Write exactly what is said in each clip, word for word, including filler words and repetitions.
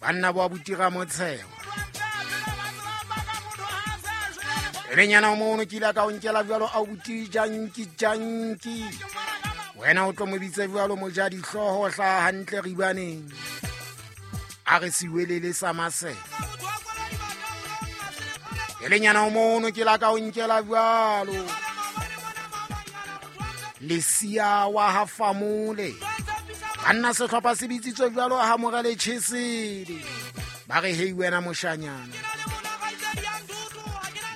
Banna bo abuti Ramotsheo. Pelenyana o mono ke ile ka o nkela jwalo abuti Janki Janki. Wena o tlo mo bitse jwalo moja dihlooho hla hantle ribaneng. A re siwelele sa masela. Pelenyana o mono ke ile ka o nkela jwalo. Lesia wa ha Famole. Banna sehlopha se bitsitswe jwalo ha Morale Chesedi. Ba re hei wena moshanyana.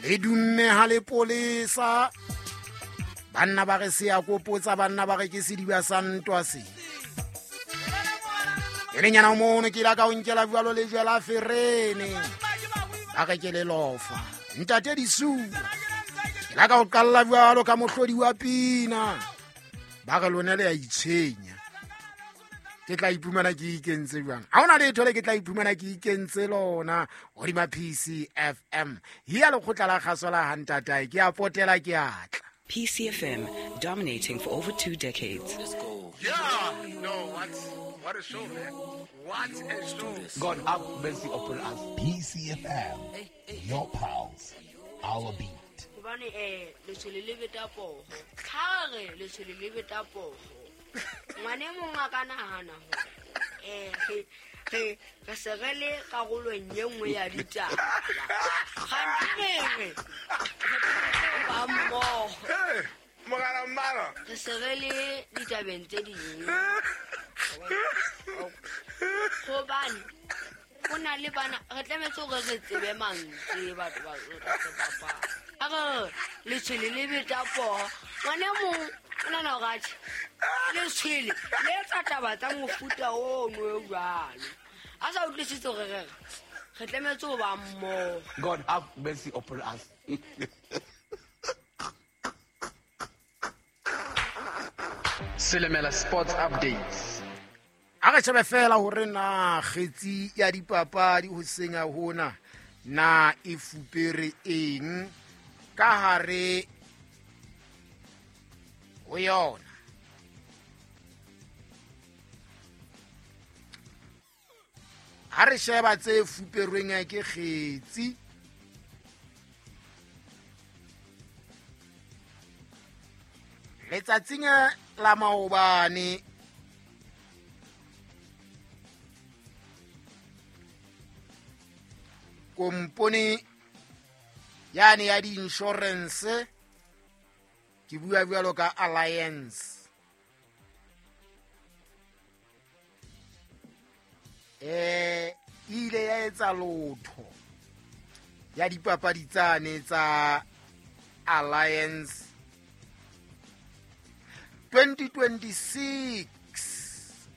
Le dumme ha le polesa. Banna ba re se ya kopotsa, banna ba re ke sediba sa ntwa se. Pelenyana o mono ke ile ka o nkela jwalo lejwe la ferene. Ba re ke le lofa. Ntate Disuwa. Ke la ka o qalla jwalo ka mohlodi wa pina. Ba re lona le ya itshenya. Ke tla iphumana ke ikentse jwang? Ha hona letho le ke tla iphumana ke ikentse lona hodima P C F M. Hiya lekgotla la kgaso la hantatae ke a potela ke atla. P C F M, dominating for over two decades. Let's go. Yeah, no, what, what a show, man. What a show. God have mercy upon us. P C F M, your pulse, our beat. Hobane eh letshwele le beta poho. Ha re letshwele le beta poho. Ngwane mong a ka nahana hore eh re re se re le karolong e nngwe ya ditaba. Kganthe re ba mmoho. Mogala mmala. Re se re le ditabeng tse ding. Hobane ho na le bana re tlametse hore re tsebe mantswe batho ba re bapala. A re letshwele le beta poho. Ngwane mong o nahana hore atjhe letshwele le etsa taba tsa mofuta ono o jwalo. A sa utlwisise hore re re tlametse ho ba mmoho. God have mercy upon us. Selemela Sports Updates. A re shebe fela hore na kgetsi ya dipapadi ho senya hona na e fupere eng ka hare ho yona. Ha re sheba tse fuperweng ke kgetsi, letsatsing la maobane kompone yane ya di-insurance, ke bua bjalo ka Alliance, eh ile ya etsa lotho ya dipapadi tsane tsa Alliance twenty twenty-six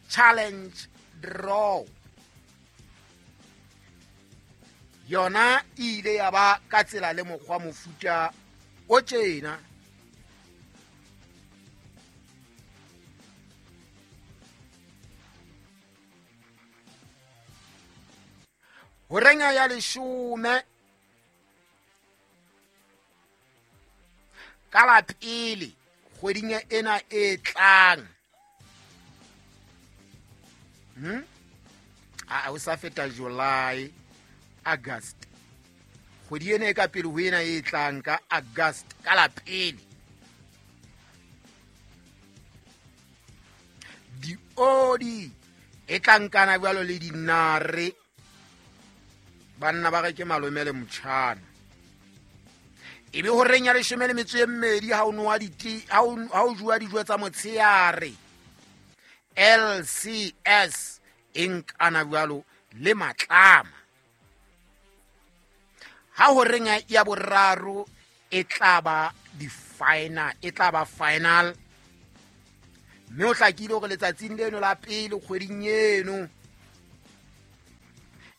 Challenge Draw. Yona ile ya ba ka tsela le mokgwa mofuta o tjena. Horenga ya leshome ka la pele kgweding ena e tlang. Hmm? A o sa feta July, August. Kgwedi ena e ka pele ho ena e tlang ka August ka la pele. Diodi e tlang kana jwalo le dinare. Banna ba re ke malome le motjhana. Ebe ho reng ya leshome le metso e mmedi ha o nowa diti ha o jua dijo tsa motsheare. L C S e nkana jwalo le matlama. Ha ho reng ya boraro e tla ba di final, e tla ba final. Mme o hlakile hore letsatsing leno la pele kgweding eno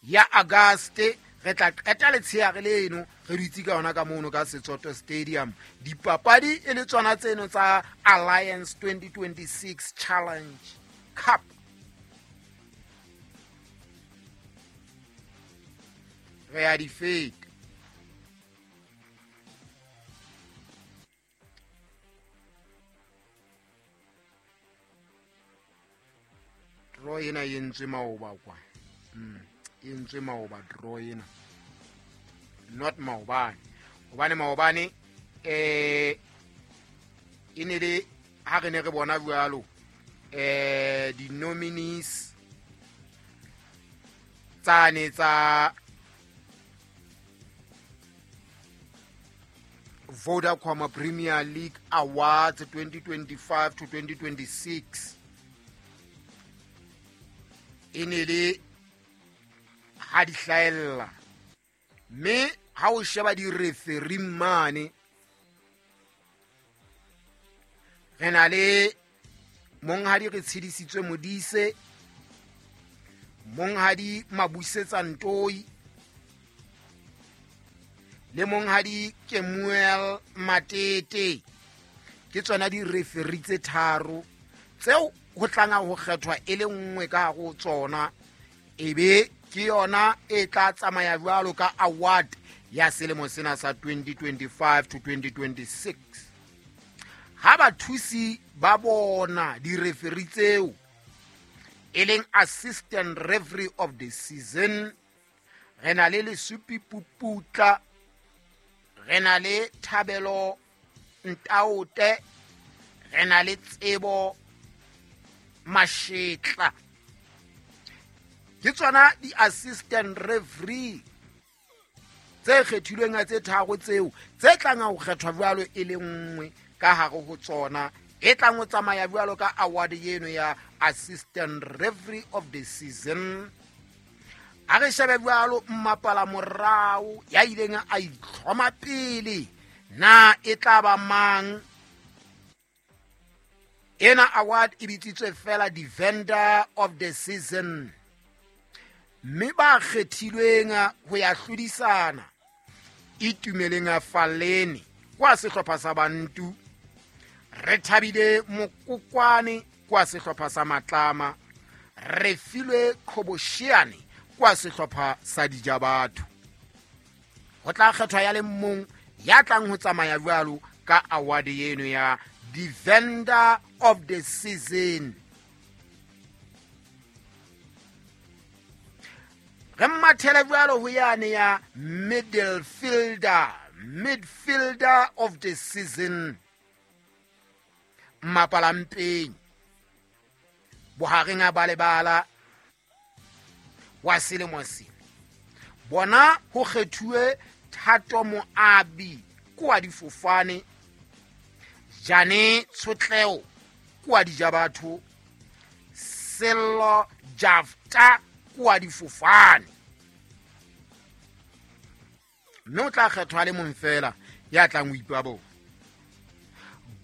ya August re tla qeta letsheare leno re dutse ka yona ka mono ka Setsoto Stadium. Dipapadi e le tsona tseno tsa Alliance twenty twenty-six Challenge Cup. Re a di feta. Draw ena e entswe maoba kwa. Mm. E entswe maoba draw ena, not maobane, hobane maobane eh e ne le ha re ne re bona jwalo eh di-nominees tsane tsa Vodacom Premier League Awards twenty twenty-five to twenty twenty-six e ne le ha di hlahella, mme ha o sheba di-referee mane re na le monghadi re tshedisitswe Modise, monghadi Mabusetsa Ntoi le monghadi Kemuel Matete. Ke tsona di-referee tse tharo tseo ho tlanga ho kgethwa e le nngwe ka ho tsona, ebe ke yona e tla tsamaya jwalo ka award ya selemo sena sa twenty twenty-five to twenty twenty-six. Ha bathusi ba bona di-referee tseo e leng assistant referee of the season, re na le Lesupi Puputla, re na le Thabelo Ntaote, re na le Tsebo Mashetla. Ke tsona di-assistant referee tse kgethilweng tse tharo tseo tse tlang ho kgethwa jwalo e le nngwe ka hare ho tsona, e tlang ho tsamaya jwalo ka award eno ya assistant referee of the season. Ha re shebe jwalo mmapala morao ya ileng a itlhoma pele, na e tla ba mang? Ena award e bitsitswe fela defender of the season, mme ba kgethilweng ho ya hlodisana Itumeleng Faleni kwa sehlopha sa Bantu, re thabile Mokokwane kwa sehlopha sa Matlama, re filwe Qhobosheane kwa sehlopha sa Dijabatho. Ho tla kgethwa ya le mong ya tlang ho tsamaya jwalo ka award eno ya defender of the season. Re mathele jwalo ho yane ya midfielder, midfielder of the season, Mapalampeng bohareng a balebala wa selemo sena. Bona ho kgethuwe Thato Moabi kwa difofane, Jane Tshotleo kwa Dijabatho, Sello Jafta kwa difofane. Mme o tla kgethwa le mong fela ya tlang ho ipabona.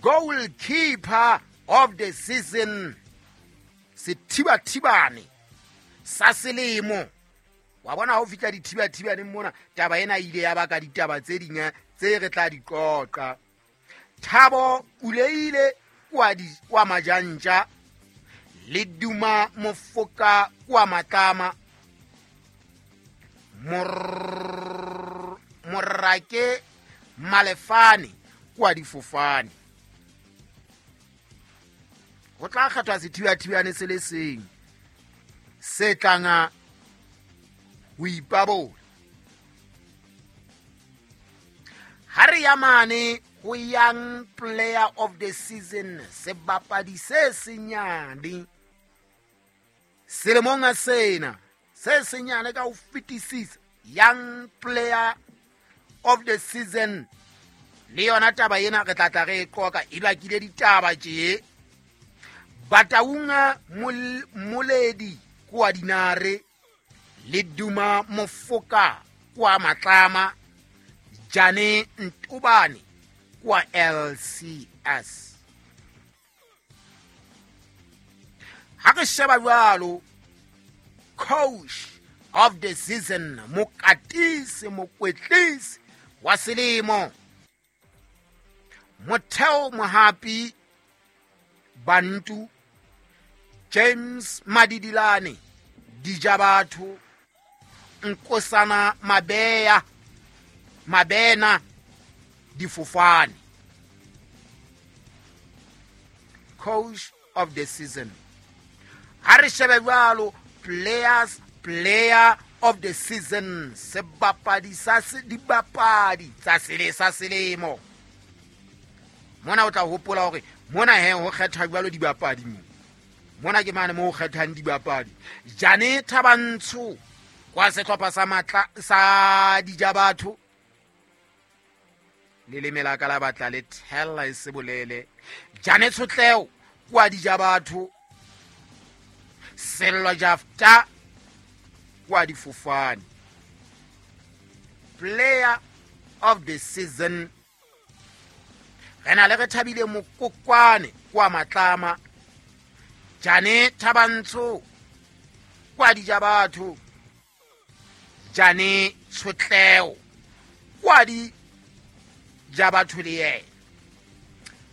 Goalkeeper of the season, sethibathibane sa selemo. Wa bona ha o fihla dithibathibaneng mona, taba ena ile ya baka ditaba tse ding tse re tla di qoqa. Thabo Uleile kwa di kwa Majantja, le Duma Mofoka kwa Matlama, Mor Morake Malefane kwa difofane. Ho tla kgethwa sethibathibane se le seng se tlanga ho ipabola. Ha re ya mane ho young player of the season, sebapadi se senyane selemong sena, se senyane ka ho fetisisa, young player of the season. Le yona taba ena re tla tla re e qoqa, e bakile ditaba tje. Bataunga Moledi kwa Dinare, le Duma Mofoka kwa Matlama, Jane Ntubane kwa L C S. Ha re sheba jwalo coach of the season, mokatisi mokwetlisi wa selemo, Motheo Mohapi Bantu, James Madidilane Dijabatho, Nkosana Mabeya Mabena Difofane. Coach of the season. Ha re shebe jwalo players player of the season, sebapadi sa dibapadi tsa sele sa selemo. Mona o tla hopola hore mona he ho kgethwa jwalo dibapadi mo. Mona ke mane mo ho kgethang dibapadi. Jane Thabantsho kwa sehlopha sa matla sa Dijabatho. Leleme la ka la batla le thella e se bolele. Jane Tshotleo kwa Dijabatho. Sello Jafta kwa Difofane. Player of the season, re na le re thabile Mokokwane kwa Matlama. Jane Thabantsho kwa Dijabatho. Jane Tshotleo kwa Dijabatho le yena.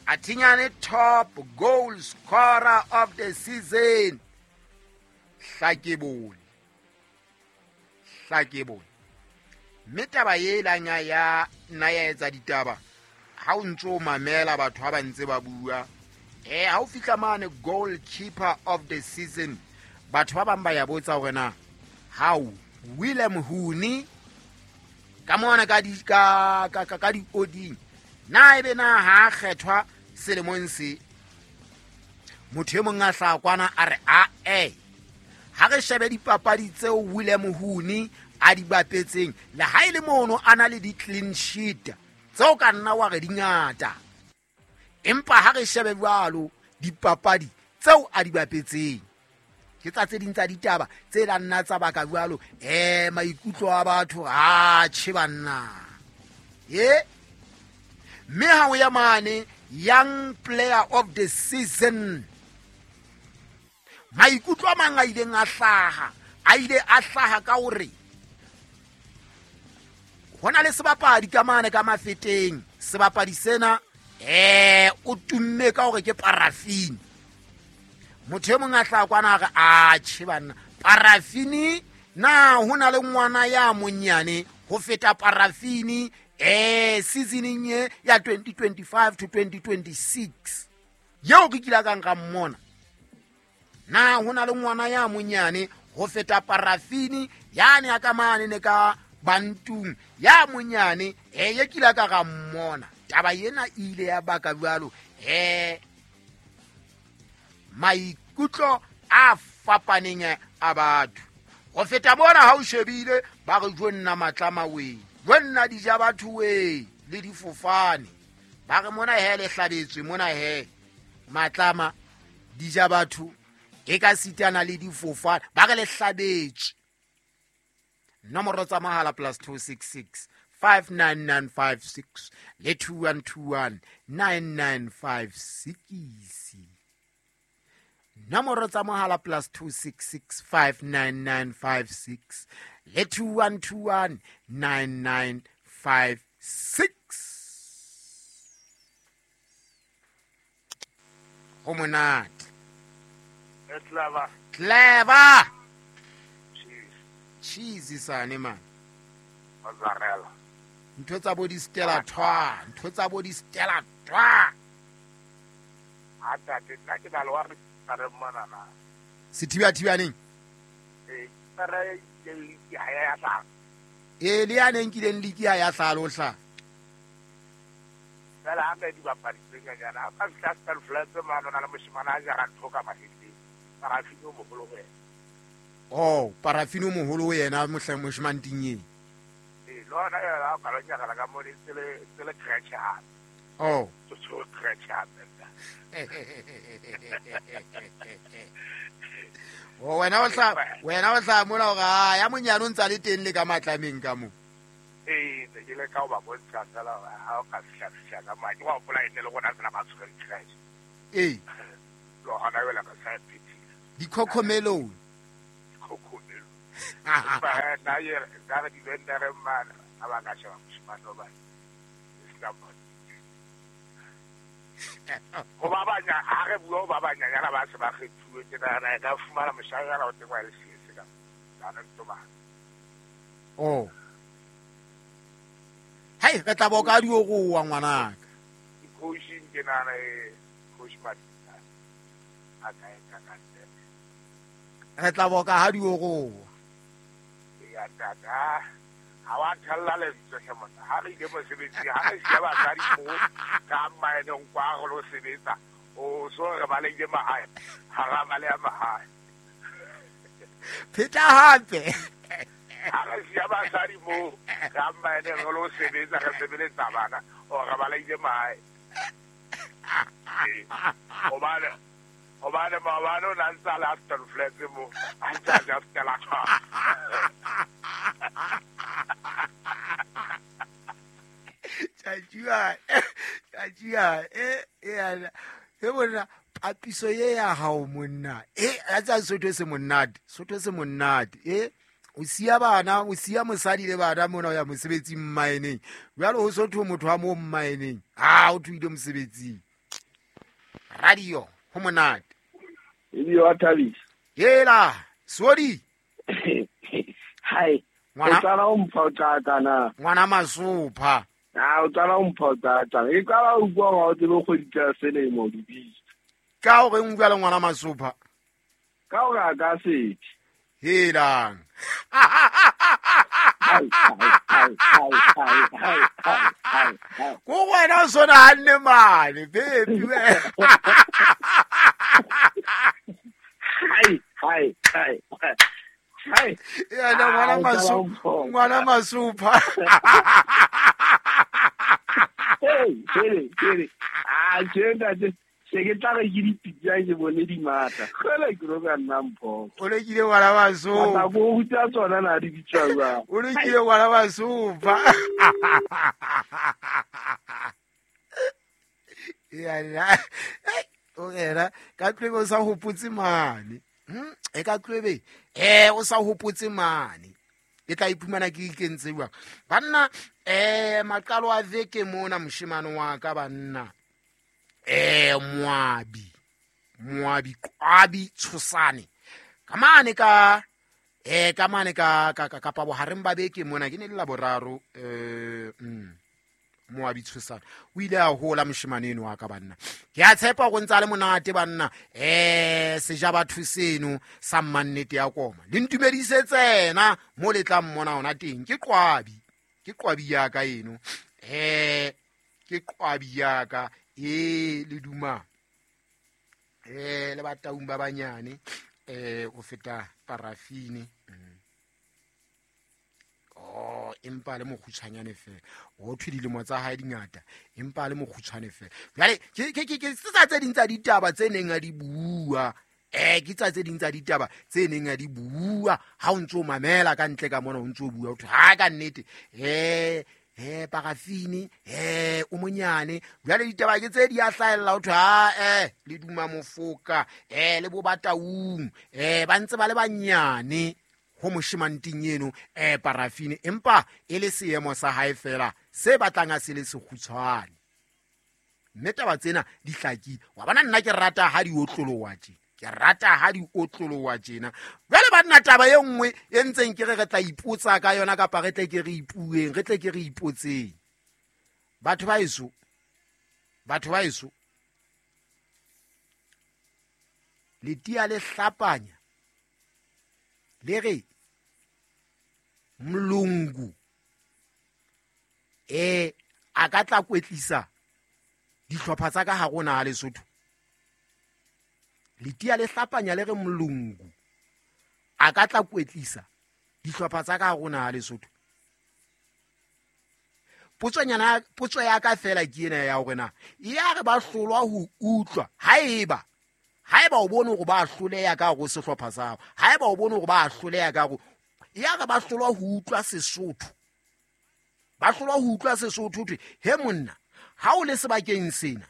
Athinyane top goal scorer of the season, Hlakebone. Hlakebone. Mme taba e lang ya nna ya etsa ditaba ha o ntso mamela batho ha ba ntse ba bua. Eh ha o fihla mane goalkeeper of the season, batho ba bang ba ya botsa hore na how Willem Huni ka mona ka di ka ka ka di oding na ebe na ha kgethwa selemong se. Motho e mong a hla kwana a re a eh ha re shebe dipapadi tseo Willem Huni a di bapetseng le ha ile mono a na le di clean sheet tseo ka nna wa re di ngata, empa ha re shebe jwalo dipapadi tseo a di bapetseng ke tsa tse ding tsa ditaba tse la nna tsa baka jwalo eh maikutlo a batho a tjhe banna. E mme ha o ya mane young player of the season, maikutlo a mang a ileng a hlaha a ile a hlaha ka hore hona le sebapadi ka mane ka mafeteng. Sebapadi sena eh o tumme ka hore ke parafini. Motho e mong a hla kwana a re a tjhe banna, parafini na hona le ngwana ya monyane ho feta parafini eh seasoning ye ya twenty twenty-five to twenty twenty-six yeo ke kila kang ka mmona. Na hona le ngwana ya monyane ho feta parafini yane ya ka mane ne ka bantung ya monyane eh ye kila ka ga mmona. Taba yena ile ya baka jwalo eh maikutlo a fapaneng a batho. Ho feta bona ha o shebile ba re jo nna Matlama we, jo nna Dijabatho we le Difofane. Ba re mona he le hlabetswe mona he Matlama Dijabatho e ka sitana le Difofane, ba re le hlabetswe. Nomoro tsa mahala plus two six six five nine nine five six le two one two one nine nine five six. Nomoro tsa mohala plus two six six five nine nine five six le two one two one nine nine five six. Ho monate. Clever. Clever. Cheese sane man. Mozzarella. Ntho tsa bo di Stella Twa, ntho tsa bo di Stella Twa. A tate nna ke na le wa re re mmona na. Sethiba-thibaneng? Eh, re ke ha ya hla. Eh, le ya neng kileng liki ha ya hla lo hla. Fela ha ka di bapadi tse nyana, ka fihla Star Flats mano na le moshimana a jara ntho ka mahetleng. Parafini o moholo ho yena. Oh, parafini o moholo ho yena mohla moshimane ting. Eh, lona ya ka lo nyaka ka mo le tsele tsele crash ha. Oh, tso crash ha. Oh, wena o hla wena o hla mona hore ha ya monyane o ntsa le teng le ka Matlameng ka mo. Eh, ne ke le ka o ba bontsha fela ha o ka fihla fihla ka mane wa hopola ene le rona tsena ba tshwere crash. Eh. Lo hona wela ka sa phethile. Dikhokhomelo. Dikhokhomelo. Ba na ye ka re di vendere mana a ba ka sheba moshimane o ba. Islam. Ho ba banya ha re bua ho ba banyanyana ba se ba kgethuwe ke nahana e ka fumana moshanyana o teng wa L C S ka lana ntoma. Oh. Hai re tla boka di o roa ngwanaka. Coaching ke nahana e coach Matita a ka e ka ka Re tla boka ha di o roa. Ya Ntate ha wa thella lentswe hle monna ha re ile mosebetsing ha re siya basadi mo ka mmaeneng kwa re lo sebetsa o so re balehile mahae ha ra baleha mahae. Pheta hape. Ha re siya basadi mo ka mmaeneng re lo sebetsa re sebeletsa bana o re balehile mahae. Hobane hobane maobane o na ntse a le Aston Flats mo a ntse a ja Stella Cup. Tjatjua tjatjua e e e bona papiso ye ya hao monna e a tsa Sotho se monate Sotho se monate e o siya bana o siya mosadi le bana mona o ya mosebetsing mmaeneng jwale ho Sotho motho wa mo mmaeneng ha o thuile mosebetsing. Radio ho monate e wa thabisa hela sodi hai o tsala o mpha o tata na ngwana masopha a o tsala o mpha o tata e qala o bua wa o tsebe kgwedi tsa selemo di bitsa ka hore o bua le ngwana masopha ka hore a ka sethe helang ko wena o sona hanne mane baby hai hai hai hai ya ngwana masopha ngwana masopha hey hey hey a tjena se ke tla re ke dipitsa ke bone di matla kgele ke ro ka nna mpho o lekile ngwana masopha go ruta tsona na di bitsa jwang o lekile ngwana masopha ya la o era ka tlebe o sa hopotse mane e ka tlebe eh o sa hopotse mane ke tla iphumana ke ikentse jwang banna eh maqalo a veke mona moshemane wa ka banna eh moabi moabi Qwabi Tshosane ka mane ka eh ka mane ka ka kapa bohareng ba beke mona ke ne le laboraro eh mm moabi Tshosane o ile a hola moshemane eno wa ka banna ke a tshepa go ntsa le monate banna eh seja batho seno sa mmannete ya koma le ntumedise tsena mo le tla mmona ona teng ke Qwabi ke Qwabi ya ka eno eh ke Qwabi ya ka e le duma eh le bataung ba banyane eh o feta parafine oh empa le mokgutshwanyane fela o thwe dilemo tsa hae dingata empa le mokgutshwane fela jwale ke ke ke tsa tse ding tsa ditaba tse neng a di bua eh ke tsa tse ding tsa ditaba tse neng a di bua ha o ntso mamela ka ntle ka mona o ntso bua o thwe ha ka nnete eh eh parafine eh o monyane jwale ditaba ke tse di a hlahella o thwe ha eh le duma mofoka eh le bo bataung eh ba ntse ba le banyane ho moshemanting eno eh parafine empa e le seemo sa hae fela se batlang a se le sekgutshwane mme taba tsena di hlakile wa bona nna ke rata ha di otlolowa tje ke rata ha di otlolowa tjena jwale ba nna taba e nngwe e ntseng ke re re tla ipotsa ka yona kapa re tle ke re ipueng re tle ke re ipotseng batho ba eso batho ba eso letia le hlapanya le re Mlungu eh a ka tla kwetlisa dihlopha tsa ka ha rona ha Lesotho letia le hlapanya le re Mlungu a ka tla kwetlisa dihlopha tsa ka ha rona ha Lesotho potsonyana potso ya ka fela ke ena ya hore na ya re ba hlolwa ho utlwa haeba haeba o bone hore ba hloleha ka go sehlopha sa hao haeba o bone hore ba hloleha ka go ya re ba hlolwa ho utlwa Sesotho ba hlolwa ho utlwa Sesotho thwe he monna ha o le sebakeng sena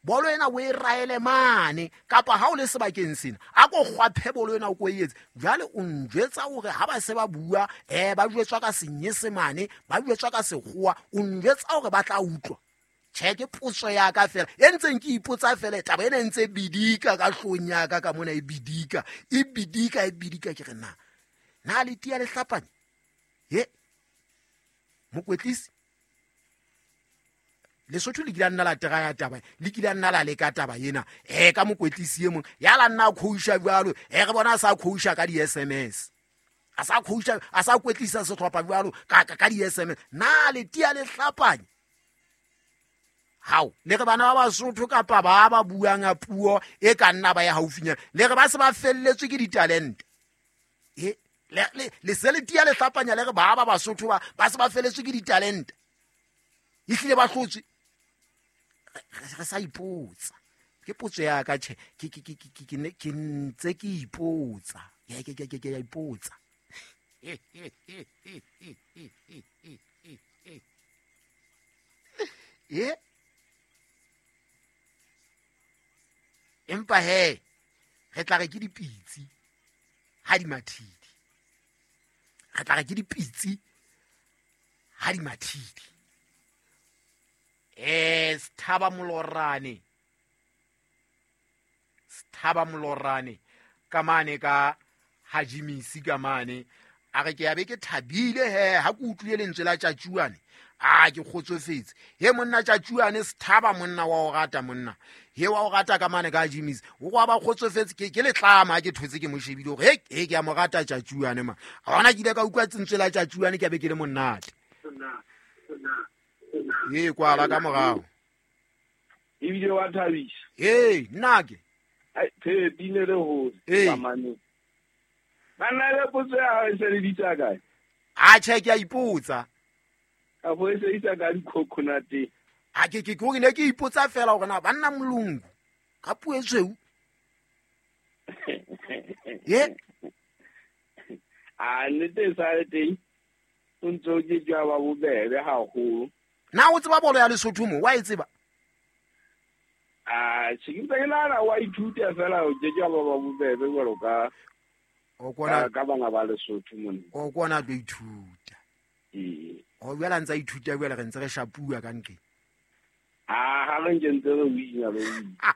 bolo ena o e raele mane kapa ha o le sebakeng sena a ko kgwaphe bolo ena o ko etse jwale o njwetsa hore ha ba se ba bua eh ba jwetswa ka senyesemane ba jwetswa ka sekgowa o njwetsa hore ba tla utlwa tjhe ke potso ya ka fela e ntseng ke ipotsa fela taba ena e ntse bidika ka hlong ya ka ka mona e bidika e bidika e bidika ke re na na le tia le hlapanya he mokwetlisi Lesotho le kile nna la tera ya taba le kile nna la leka taba ena eh ka mokwetlisi e mong ya la nna khousha jwalo eh re bona sa khousha ka di S M S A sa coacha a sa kwetlisa sehlopha jwalo ka ka di S M S na le tia le hlapanya hao le re bana ba Basotho kapa ba ba buang a puo e ka nna ba ya haufinyana le re ba se ba felletswe ke ditalente e le le le se le tia le hlapanya le re ba ba Basotho ba ba se ba felletswe ke ditalente e hlile ba hlotswe re sa ipotsa ke potso ya ka tjhe ke ke ke ke ke ntse ke ipotsa ke ke ke ke ya ipotsa e empa he re tla re ke dipitsi ha di mathidi re tla re ke dipitsi ha di mathidi eh Sthaba Molorane Sthaba Molorane ka mane ka Hajimisi ka mane a re ke ya be ke thabile he ha ke utlwile lentswe la Tjatjuane a ke kgotsofetse he monna Tjatjuane Sthaba monna wa o rata monna he wa o rata ka mane ka Hajimisi o go ba kgotsofetse ke ke letlama ha ke thotse ke mo shebile hore he he ke ya mo rata Tjatjuane ma hona ke ile ka utlwa lentswe la Tjatjuane ke be ke le monate ye kwala ka morao ebile wa thabisa hey nna ke ai the bine le ho tsamane bana le potso ya hao e se le ditsa kae a che ke a ipotsa ka bo e se itsa ka di-coconut a ke ke ke ne ke ipotsa fela hore na banna molungu ka puo e tshweu ye a nnete e sa le teng o ntso ke jwa ba bobebe haholo na o tseba bolo ya Lesotho mo wa e tseba a che ke ntse ke nahana wa ithuta fela o ke jwa ba ba bobebe jwalo ka o kona ka bana ba Lesotho mona o kona tlo ithuta ee o jwala ntsa ithuta jwale re ntse re shapuwa ka nqeng a ha re ntse ntse re wina re wina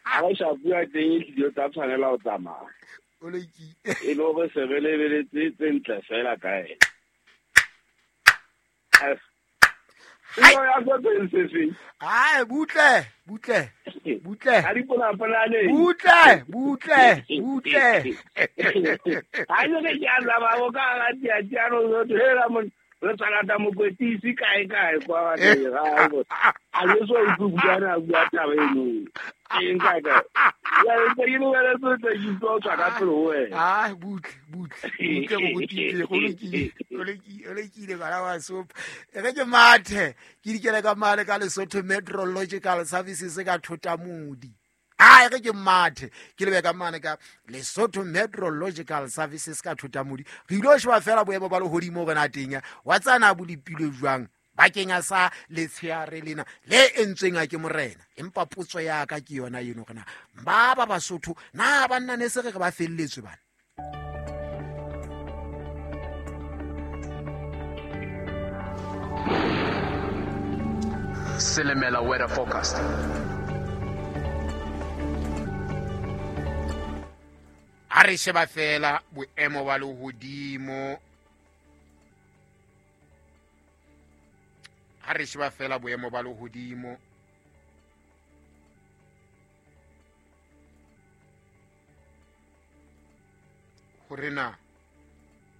ha re shapuwa teng e tlile tsa tshwanela ho tsamaya o lokile e le hore se re lebeletse tse ntle fela ka ena ai butle butle butle ha di pona-ponane butle butle butle ha ke ke a zama bo ka ga tia tia no hela mon re tsalata mokwetisi kae kae kwa ba ga go a le so o bua na bua taba eno eng ka ka ya ntse ke le le tse ke tlo tswa ka pele ho wena ah butle butle butle go tile go lokile o lokile o lokile bana ba sopa e re ke mathe ke dikele ka mane ka Lesotho Meteorological Services ka Thotamodi a e re ke mathe ke lebe ka mane ka Lesotho Meteorological Services ka Thotamodi re ile ho sheba fela boemo ba lehodimo re na teng wa tsana bo dipilo jwang bakeng a sa letsheare lena le entsweng a ke morena empa potso ya ka ke yona eno rena ba ba Basotho na banna ne se re re ba felletswe bana Silimela weather forecast. A re sheba fela boemo ba lehodimo ha re sheba fela boemo ba lehodimo hore na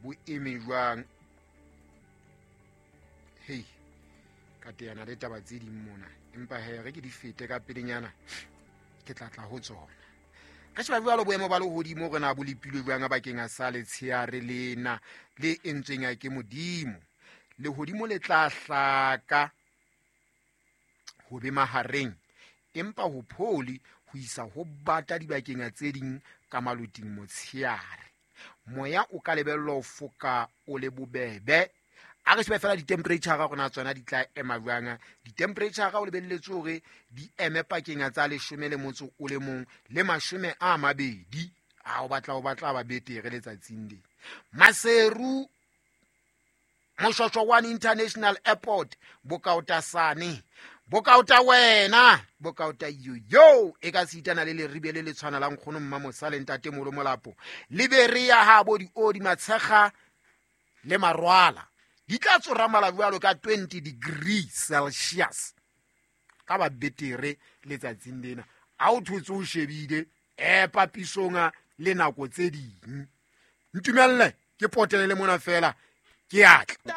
bo eme jwang hei ka teana le taba tse ding mona empa he re ke di fete ka pelenyana ke tla tla ho tsona re sheba jwalo boemo ba lehodimo re na bo lepilwe jwang bakeng a sa letsheare lena le entsweng a ke Modimo lehodimo le tla hlaka ho be mahareng empa ho pholi ho isa ho bata dibakeng tse ding ka maloting motsheare moya o ka lebellwa ho foka o le bobebe a re shebe fela di-temperature ga rona tsona di tla ema jwang di-temperature o lebelletse hore di eme pakeng tsa leshome le motso o le mong le mashome a mabedi a o batla o batla ba betere letsatsing le Maseru Moshwashwa One International Airport bokaotasane bokaota wena bokaota yo e ka sitana le leribe le le tshwana la nkgono mma mosale ntate molo molapo Liberia ha bo di odi matshega le marwala di tla tsoramala jwalo ka twenty degrees Celsius ka ba betere letsatsing lena a o thotse o shebile e papisonga le nako tse ding Ntumelle ke potele mona fela, ke atla.